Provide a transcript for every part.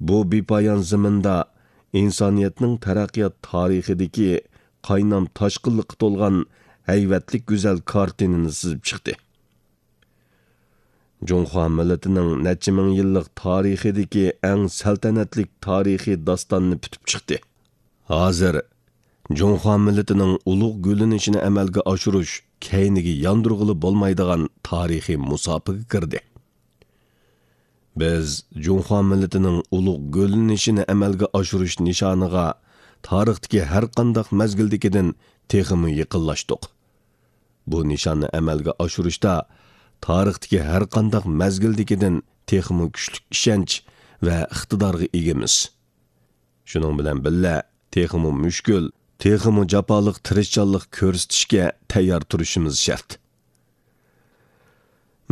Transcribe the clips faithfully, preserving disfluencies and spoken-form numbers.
بۇ بىپايان زېمىندا ئىنسانىيەتنىڭ تەرەققىيات تارىخىدىكى قاينام تاشقىنلىققا تولغان ھەيۋەتلىك گۈزەل كارتىنىنى سىزىپ چىقتى. جۇڭخۇا مىللىتىنىڭ نەچچە مىڭ يىللىق تارىخىدىكى ئەڭ سەلتەنەتلىك تارىخىي داستاننى پۈتۈپ چىقتى. ھازىر جۇڭخۇا مىللىتىنىڭ ئۇلۇغ گۈللىنىشىنى ئەمەلگە ئاشۇرۇش كەينىگە ياندۇرغىلى بولمايدىغان تارىخىي مۇساپىگە كىردى. بىز جۇڭخۇا مىللىتىنىڭ ئۇلۇغ گۈللىنىشىنى ئەمەلگە ئاشۇرۇش نىشانىغا تارىختىكى ھەرقانداق مەزگىلدىكىدىن تېخىمۇ يېقىنلاشتۇق. بۇ نىشاننى ئەمەلگە ئاشۇرۇشتا تارىختىكى ھەرقانداق مەزگىلدىكىدىن تېخىمۇ كۈچلۈك ئىشەنچ ۋە ئىقتىدارغا ئىگىمىز. شۇنىڭ بىلەن بىللە، تېخىمۇ مۈشكۈل، تېخىمۇ جاپالىق تىرىشچانلىق كۆرسىتىشكە تەييار تۇرۇشىمىز شەرت.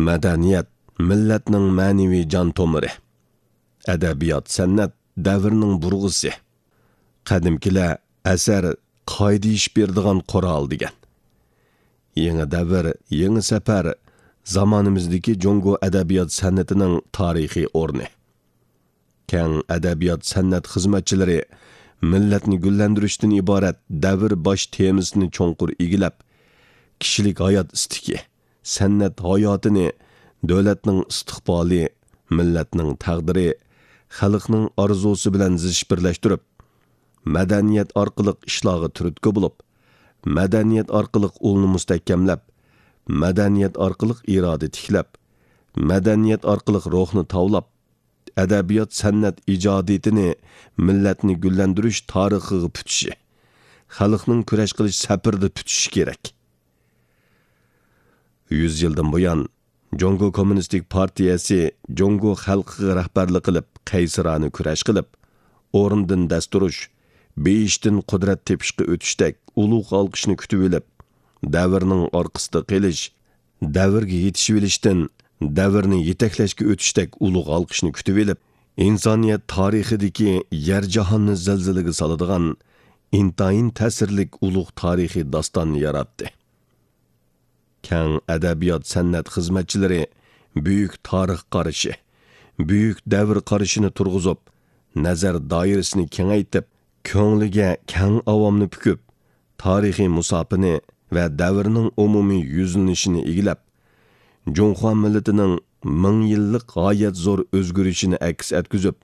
مەدەنىيەت مىللەتنىڭ مەنىۋى جان تومۇرى. ئەدەبىيات-سەنئەت دەۋرنىڭ بۇرغىسى. قەدىمكىلەر «ئەسەر قائىدە ئېشىپ بېرىدىغان قورال» دېگەن. يېڭى دەۋر، يېڭى سەپەر زامانىمىزدىكى جۇڭگو ئەدەبىيات-سەنئىتىنىڭ تارىخىي ئورنى. كەڭ ئەدەبىيات-سەنئەت خىزمەتچىلىرى مىللەتنى گۈللەندۈرۈشتىن ئىبارەت دەۋر باش تېمىسىنى چوڭقۇر ئىگىلەپ، كىشىلىك ھايات ئىستىكى، سەنئەت ھاياتىنى دۆلەتنىڭ ئىستىقبالى، مىللەتنىڭ تەقدىرى، خەلقنىڭ ئارزۇسى بىلەن زىچ بىرلەشتۈرۈپ، مەدەنىيەت ئارقىلىق ئىشلارغا تۈرتكە بولۇپ، مەدەنىيەت ئارقىلىق ئۇلنى مۇستەھكەملەپ، مەدەنىيەت ئارقىلىق ئىرادە تىكلەپ، مەدەنىيەت ئارقىلىق روھنى تاۋلاپ، ئەدەبىيات-سەنئەت ئىجادىيىتىنى مىللەتنى گۈللەندۈرۈش تارىخىغا پۈتۈشى، خەلقنىڭ كۈرەش قىلىش سەپىرىدە پۈتۈشى كېرەك. يۈز يىلدىن بۇيان، جۇڭگو كوممۇنىستىك پارتىيەسى جۇڭگو خەلقىگە رەھبەرلىك قىلىپ، قەيسەرانە كۈرەش قىلىپ، ئورنىدىن دەس تۇرۇش، بېيىشتىن قۇدرەت تېپىشقا ئۆتۈشتەك ئۇلۇغ ئالقىشنى كۈتۈۋېلىپ، دەۋرنىڭ ئارقىسىدا قېلىش، دەۋرگە يېتىشىۋېلىشتىن دەۋرنى يېتەكلەشكە ئۆتۈشتەك ئۇلۇغ ئالقىشنى كۈتۈۋېلىپ، ئىنسانىيەت تارىخىدىكى يەر جاھاننى زىلزىلىگە سالىدىغان ئىنتايىن تەسىرلىك ئۇلۇغ تارىخىي داستاننى ياراتتى. كەڭ ئەدەبىيات-سەنئەت خىزمەتچىلىرى بۈيۈك تارىخ قارىشى، بۈيۈك دەۋر قارىشىنى تۇرغۇزۇپ، نەزەر دائىرىسىنى كېڭەيتىپ، كۆڭلىگە كەڭ ئاۋامنى پۈكۈپ، تارىخىي مۇساپىنى ۋە دەۋرنىڭ ئومۇمىي يۈزلىنىشىنى ئىگىلەپ، جۇڭخۇا مىللىتىنىڭ مىڭ يىللىق غايەت زور ئۆزگىرىشىنى ئەكس ئەتكۈزۈپ،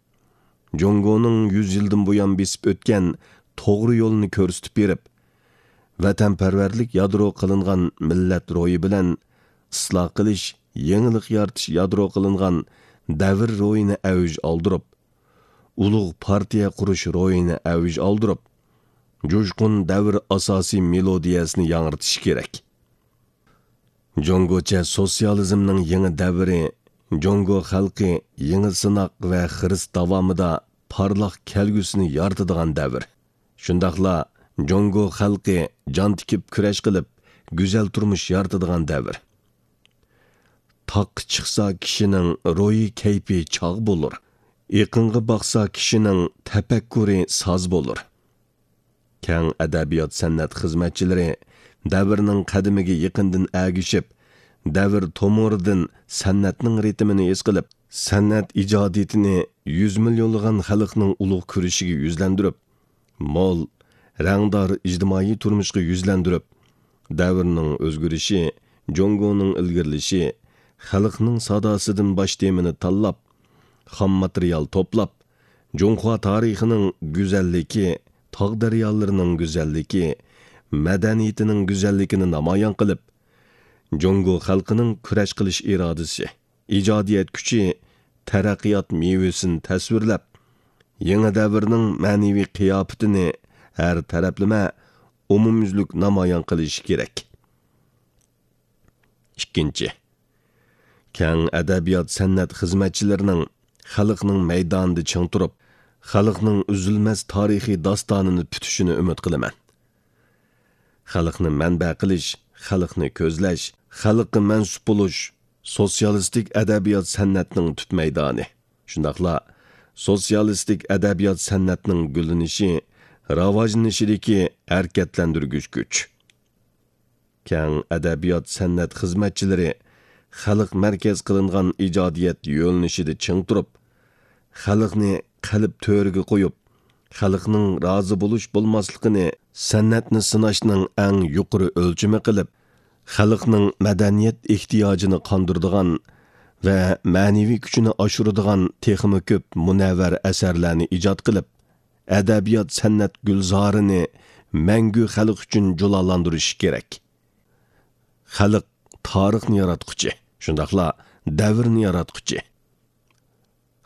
جۇڭگونىڭ يۈز يىلدىن بۇيان بېسىپ ئۆتكەن توغرا يولىنى كۆرسىتىپ بېرىپ، ۋەتەنپەرۋەرلىك يادرو قىلىنغان مىللەت روھى بىلەن ئىسلاھ قىلىش، يېڭىلىق يارىتىش يادرو قىلىنغان دەۋر روھىنى ئەۋج ئالدۇرۇپ، ئۇلۇغ پارتىيە قۇرۇش روھىنى ئەۋج ئالدۇرۇپ، جۇشقۇن دەۋر ئاساسىي مېلودىيەسىنى ياڭرىتىش كېرەك. جۇڭگوچە سوتسىيالىزمنىڭ يېڭى دەۋرى، جۇڭگو خەلقى يېڭى سىناق ۋە خىرىس داۋامىدا پارلاق كەلگۈسىنى يارىتىدىغان دەۋر. شۇنداقلا جۇڭگو خەلقى جان تىكىپ كۈرەش قىلىپ، گۈزەل تۇرمۇش يارىتىدىغان دەۋر. تاغقا چىقسا كىشىنىڭ روھىي كەيپى چاغ بولۇر. ئېقىنغا باقسا كىشىنىڭ تەپەككۇرى ساز بولۇر. كەڭ ئەدەبىيات-سەنئەت خىزمەتچىلىرى دەۋرنىڭ قەدىمىگە يېقىندىن ئەگىشىپ، دەۋر تومۇرىدىن سەنئەتنىڭ رىتىمىنى ھېس قىلىپ، سەنئەت ئىجادىيىتىنى يۈز مىليونلىغان خەلقنىڭ ئۇلۇغ كۈرىشىگە يۈزلەندۈرۈپ، مول، رەڭدار ئىجتىمائىي تۇرمۇشقا يۈزلەندۈرۈپ، دەۋرنىڭ ئۆزگىرىشى، جۇڭگونىڭ ئىلگىرىلىشى، خەلقنىڭ ساداسىدىن باش تېمىنى تاللاپ، خام ماتېرىيال توپلاپ، جۇڭخۇا تارىخىنىڭ گۈزەللىكى، تاغ دەريالىرىنىڭ گۈزەللىكى، مەدەنىيىتىنىڭ گۈزەللىكىنى نامايان قىلىپ، جۇڭگو خەلقىنىڭ كۈرەش قىلىش ئىرادىسى، ئىجادىيەت كۈچى، تەرەققىيات مېۋىسىنى تەسۋىرلەپ، يېڭى دەۋرنىڭ مەنىۋى قىياپىتىنى ھەر تەرەپلىمە ئومۇميۈزلۈك نامايان قىلىشى كېرەك. ئىككىنچى، كەڭ ئەدەبىيات-سەنئەت خىزمەتچىلىرىنىڭ خەلقنىڭ مەيدانىدا چىڭ تۇرۇپ، خەلقنىڭ ئۈزۈلمەس تارىخىي داستانىنى پۈتۈشىنى ئۈمىد قىلىمەن. خەلقنى مەنبە قىلىش، خەلقنى كۆزلەش، خەلققە مەنسۇپ بولۇش سوتسىيالىستىك ئەدەبىيات-سەنئەتنىڭ تۈپ مەيدانى، شۇنداقلا سوتسىيالىستىك ئەدەبىيات-سەنئەتنىڭ گۈللىنىشى، راۋاجلىنىشىدىكى ھەرىكەتلەندۈرگۈچ كۈچ. كەڭ ئەدەبىيات-سەنئەت خىزمەتچىلىرى خەلق مەركەز قىلىنغان ئىجادىيەت يۆنىلىشىدە چىڭ تۇرۇپ، خەلقنى قەلب تۆرىگە قويۇپ، خەلقنىڭ رازى بولۇش-بولماسلىقىنى سەنئەتنى سىناشنىڭ ئەڭ يۇقىرى ئۆلچىمى قىلىپ، خەلقنىڭ مەدەنىيەت ئېھتىياجىنى قاندۇرىدىغان ۋە مەنىۋى كۈچىنى ئاشۇرىدىغان تېخىمۇ كۆپ مۇنەۋۋەر ئەسەرلەرنى ئىجاد قىلىپ، ئەدەبىيات-سەنئەت گۈلزارىنى مەڭگۈ خەلق ئۈچۈن جۇلالاندۇرۇشى كېرەك. خەلق تارىخنى ياراتقۇچى، شۇنداقلا دەۋرنى ياراتقۇچى.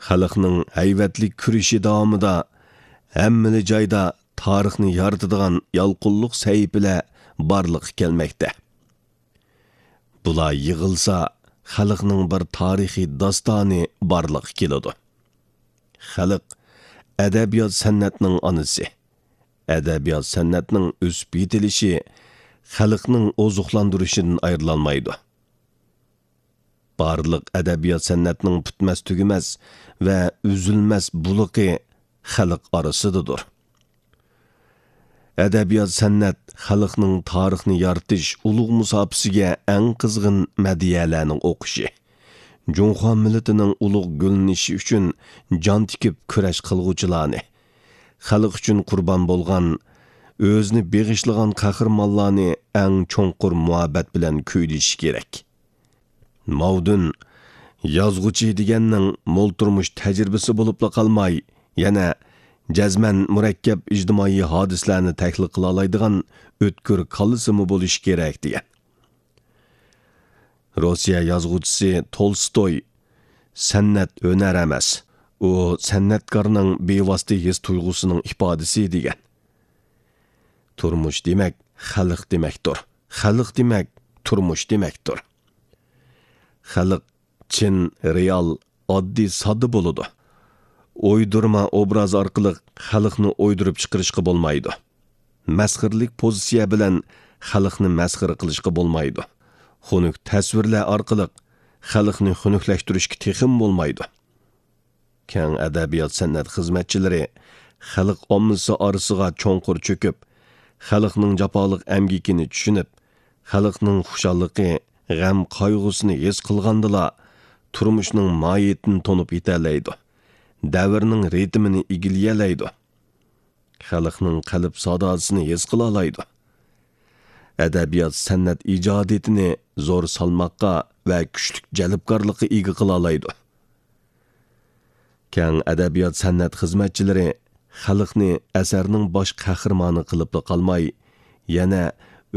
خەلقنىڭ ھەيۋەتلىك كۈرىشى داۋامىدا ھەممىلا جايدا تارىخنى يارىتىدىغان يالقۇنلۇق سەھىپىلەر بارلىققا كەلمەكتە. بۇلار يىغىلسا، خەلقنىڭ بىر تارىخىي داستانى بارلىققا كېلىدۇ. خەلق ئەدەبىيات-سەنئەتنىڭ ئانىسى. ئەدەبىيات-سەنئەتنىڭ ئۆسۈپ يېتىلىشى خەلقنىڭ ئوزۇقلاندۇرۇشىدىن ئايرىلالمايدۇ. بارلىق ئەدەبىيات-سەنئەتنىڭ پۈتمەس-تۈگىمەس ۋە ئۈزۈلمەس بۇلىقى خەلق ئارىسىدىدۇر. ئەدەبىيات-سەنئەت خەلقنىڭ تارىخنى يارىتىش ئۇلۇغ مۇساپىسىگە ئەڭ قىزغىن مەدھىيەلەرنىڭ ئوقۇشى، جۇڭخۇا مىللىتىنىڭ ئۇلۇغ گۈللىنىشى ئۈچۈن جان تىكىپ كۈرەش قىلغۇچىلارنى، خەلق ئۈچۈن قۇربان بولغان، ئۆزىنى بېغىشلىغان قەھرىمانلارنى ئەڭ چوڭقۇر مۇھەببەت بىلەن كۈيلىشى كېرەك. ماۋدۇن، يازغۇچى دېگەننىڭ مول تۇرمۇش تەجرىبىسى بولۇپلا قالماي، يەنە جەزمەن مۇرەككەپ ئىجتىمائىي ھادىسىلەرنى تەھلىل قىلالايدىغان ئۆتكۈر كاللىسىمۇ بولۇشى كېرەك، دېگەن. روسىيە يازغۇچىسى تولستوي، «سەنئەت ھۈنەر ئەمەس، ئۇ سەنئەتكارنىڭ بىۋاسىتە ھېس تۇيغۇسىنىڭ ئىپادىسى» دېگەن. تۇرمۇش دېمەك، خەلق دېمەكتۇر. خەلق دېمەك، تۇرمۇش دېمەكتۇر. خەلق چىن، رېئال، ئاددىي، ساددا بولىدۇ. ئويدۇرما ئوبراز ئارقىلىق خەلقنى ئويدۇرۇپ چىقىرىشقا بولمايدۇ. مەسخىرىلىك پوزىتسىيە بىلەن خەلقنى مەسخىرە قىلىشقا بولمايدۇ. خۇنۈك تەسۋىرلەر ئارقىلىق خەلقنى خۇنۈكلەشتۈرۈشكە تېخىمۇ بولمايدۇ. كەڭ ئەدەبىيات-سەنئەت خىزمەتچىلىرى خەلق ئاممىسى ئارىسىغا چوڭقۇر چۆكۈپ، خەلقنىڭ جاپالىق ئەمگىكىنى چۈشىنىپ، خەلقنىڭ خۇشاللىقى، غەم-قايغۇسىنى ھېس قىلغاندىلا، تۇرمۇشنىڭ ماھىيىتىنى تونۇپ يېتەلەيدۇ، دەۋرنىڭ رىتىمىنى ئىگىلىيەلەيدۇ، خەلقنىڭ قەلب ساداسىنى ھېس قىلالايدۇ. ئەدەبىيات-سەنئەت ئىجادىيىتىنى زور سالماققا ۋە كۈچلۈك جەلپكارلىققا ئىگە قىلالايدۇ. كەڭ ئەدەبىيات-سەنئەت خىزمەتچىلىرى خەلقنى ئەسەرنىڭ باش قەھرىمانى قىلىپلا قالماي، يەنە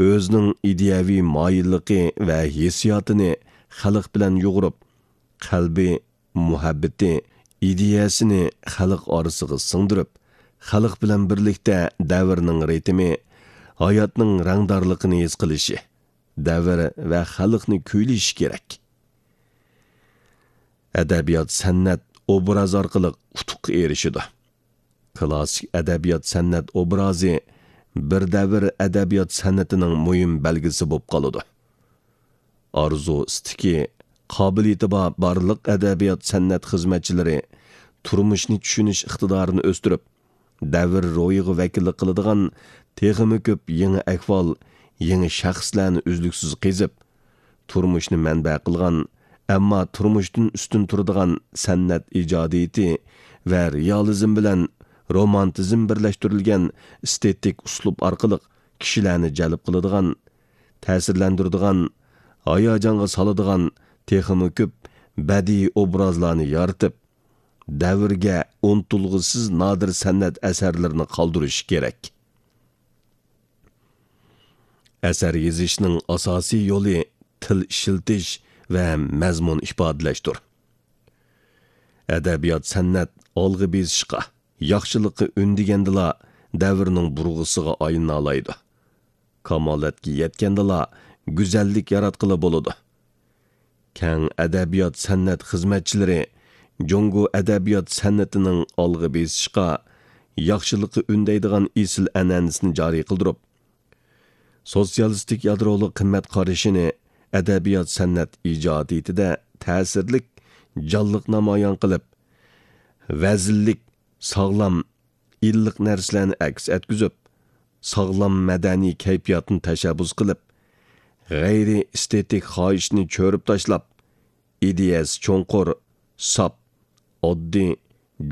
ئۆزىنىڭ ئىدىيەۋى مايىللىقى ۋە ھېسسىياتىنى خەلق بىلەن يۇغۇرۇپ، قەلبى، مۇھەببىتى، ئىدىيەسىنى خەلق ئارىسىغا سىڭدۈرۈپ، خەلق بىلەن بىرلىكتە دەۋرنىڭ رىتىمى، ھاياتنىڭ رەڭدارلىقىنى ھېس قىلىشى، دەۋر ۋە خەلقنى كۈيلىشى كېرەك. ئەدەبىيات-سەنئەت ئوبراز ئارقىلىق ئۇتۇققا ئېرىشىدۇ. كىلاسسىك ئەدەبىيات-سەنئەت ئوبرازى بىر دەۋر ئەدەبىيات-سەنئىتىنىڭ مۇھىم بەلگىسى بولۇپ قالىدۇ. ئارزۇ ئىستىكى، قابىلىيىتى بار بارلىق ئەدەبىيات-سەنئەت خىزمەتچىلىرى تۇرمۇشنى چۈشىنىش ئىقتىدارىنى ئۆستۈرۈپ، دەۋر روھىغا ۋەكىللىك قىلىدىغان تېخىمۇ كۆپ يېڭى ئەھۋال، يېڭى شەخسلەرنى ئۈزلۈكسىز قېزىپ، تۇرمۇشنى مەنبە قىلغان، ئەمما تۇرمۇشتىن ئۈستۈن تۇرىدىغان سەنئەت ئىجادىيىتى ۋە رېئالىزم بىلەن رومانتىزم بىرلەشتۈرۈلگەن ئېستېتىك ئۇسلۇب ئارقىلىق كىشىلەرنى جەلپ قىلىدىغان، تەسىرلەندۈرىدىغان، ھاياجانغا سالىدىغان تېخىمۇ كۆپ بەدىئىي ئوبرازلارنى يارىتىپ، دەۋرگە ئۇنتۇلغۇسىز نادىر سەنئەت ئەسەرلىرىنى قالدۇرۇشى كېرەك. ئەسەر يېزىشنىڭ ئاساسىي يولى تىل ئىشلىتىش ۋە مەزمۇن ئىپادىلەشتۇر. ئەدەبىيات-سەنئەت ئالغا بېسىشقا، ياخشىلىققا ئۈندىگەندىلا، دەۋرنىڭ بۇرغىسىغا ئايلىنالايدۇ. كامالەتكە يەتكەندىلا، گۈزەللىك ياراتقىلى بولىدۇ. كەڭ ئەدەبىيات-سەنئەت خىزمەتچىلىرى جۇڭگو ئەدەبىيات-سەنئىتىنىڭ ئالغا بېسىشقا، ياخشىلىققا ئۈندەيدىغان ئېسىل ئەنئەنىسىنى جارى قىلدۇرۇپ، سوتسىيالىستىك يادرولۇق قىممەت قارىشىنى ئەدەبىيات-سەنئەت ئىجادىيىتىدە تەسىرلىك، جانلىق نامايان قىلىپ، ۋەزىنلىك، ساغلام، ئىللىق نەرسىلەرنى ئەكس ئەتكۈزۈپ، ساغلام مەدەنىي كەيپىياتنى تەشەببۇس قىلىپ، غەيرىي ئېستېتىك خاھىشنى چۆرۈپ تاشلاپ، ئىدىيەسى چوڭقۇر، ساپ، ئاددىي،